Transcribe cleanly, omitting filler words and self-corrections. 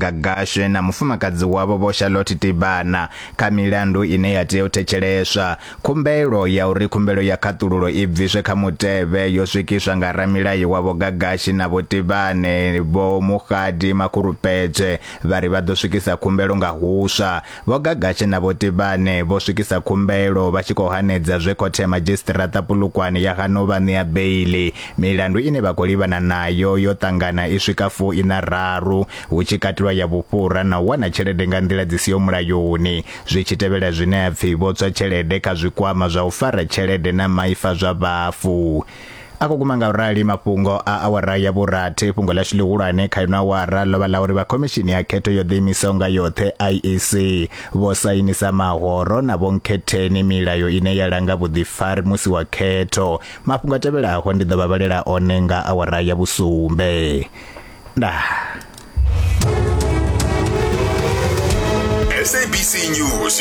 Gagashe na mufumakadzi wavho Vho Charlotte Tibana kha milandu ine ya tea u thetsheleswa. Khumbelo ya uri khumbelo ya khaṱululo i bviswe kha mutevhe yo swikiswa nga ramilayo wa Vho Gagashi na Vho Tibane Vho Mokgadi Makhurupetje vha ri vha ḓo swikisa khumbelo nga huswa. Vho Gagashi na Vho Tibane vho swikisa khumbelo vha tshi khou hanedza zwe khothe ya madzhisiṱiraṱa Polokwane ya gana u vha ṋea beiḽi. Milandu ine vha khou livhana nayo yo ṱangana i swika fu-iṋa-raru, hu tshi katelwa ya vhufhura na u wana tshelede nga nḓila dzi siho mulayoni, zwi tshi tevhela zwine ha pfi vho tswa tshelede kha zwikwama zwa u fara tshelede na maifa zwa vhafu. A khou guma nga u rali mafhungo a awara ya vhurathi. Fhungo ḽashu ḽihulwane kha ino awara ḽo vha ḽa uri vha khomishini ya khetho yo ḓiimisaho nga yoṱhe IEC vho sainisa mahoro na vhonkhetheni milayo ine ya langa vhuḓifari musi wa khetho. Mafhungo a tevhelaho ndi ḓo vha vhalela one nga awara ya vhusumbe. Ndaa. SABC News.